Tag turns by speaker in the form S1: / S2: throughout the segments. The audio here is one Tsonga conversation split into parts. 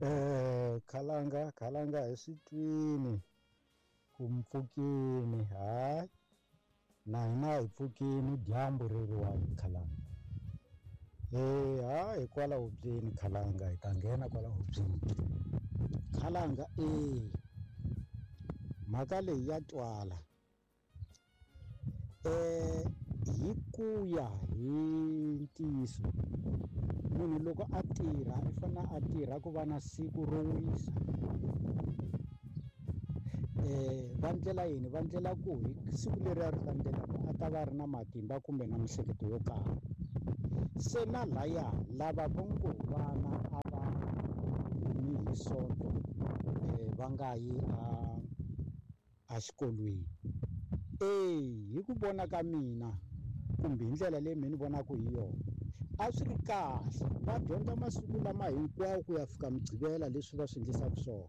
S1: Khalanga khalanga hi swi twini ku mpfukini, hayi na hina hi pfukini dyambu ri ri wa khalanga. Ha hi kwala hubyeni khalanga, hi ta nghena kwala hubyeni khalanga. Mhaka leyi ya twala. Hi ku ya hi ntiyiso, munhu loko a tirha i fanele a tirha ku va na siku ro wisa. Va ndlela yini? Va ndlela ku hi siku leri ri landzelaka a ta va ri na matimba kumbe na miehleketo yo karhi. Se na laya lava vo ngo vana a va humi hi Sonto, va nga yi a xikolweni. Hi ku vona ka mina kumbe hi ndlela leyi mina ni vonaka hi yona, a swi ri kahle va dyondza masiku lama hinkwawo ku ya fika Mugqivela leswi va swi endlisaka swona.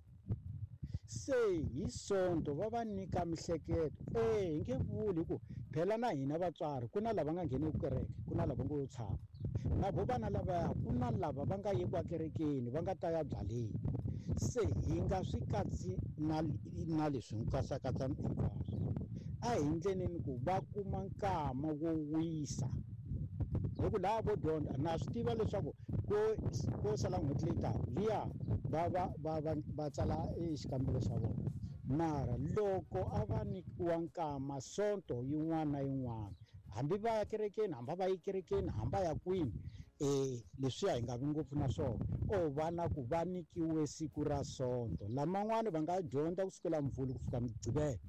S1: Se hi Sonto va va nyika mihleketo. Hi nge vuli hi ku phela na hina vatswari ku na lava nga ngheneki kereke, ku na lava ngo yo tshama na vo vana lavaya, ku na lava va nga yeki ekerekeni va nga ta ya byaleni. Se hi nga swi katsi na leswi hi katsakatsa hinkwaswo. A hi ndleleni ku va kuma nkama wo wisa, hi ku laha vo dyondza na swi tiva leswaku ko sala n'hweti leyi taka liya va va va va va tsala xikambelo xa vona. Mara loko a va nyikiwa nkama Sonto yin'wana na yin'wana, hambi va ya kerekeni, hambi va yi kerekeni, hambi va ya kwini, leswiya hi nga vi ngopfu na swona. O vana ku va nyikiwe siku ra Sonto, laman'wani va nga dyondza kusukela Mvhulu ku fika Mugqivela,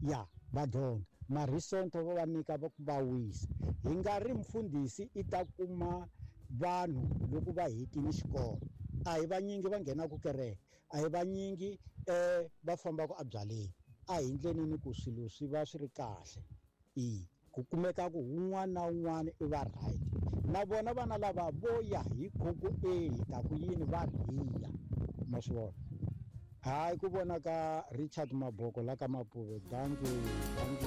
S1: ya va dyondza, mara hi Sonto va va nyika va ku va wisa. Hi nga ri mfundhisi i ta kuma vanhu loko va hetile xikolo, a hi vanyingi va nghenaka kereke, a hi vanyingi va fambaka ebyaleni. A hi ndleleni ku swilo swi va swi ri kahle, ku kumeka ku un'wana na un'wana i va right. Na vona vana lava vo ya hi khoko, hi ta ku yini va rhiya, ma swi vona. Hayi ku vona ka Richard Maboko la ka Mapuve. Dankie, dankie.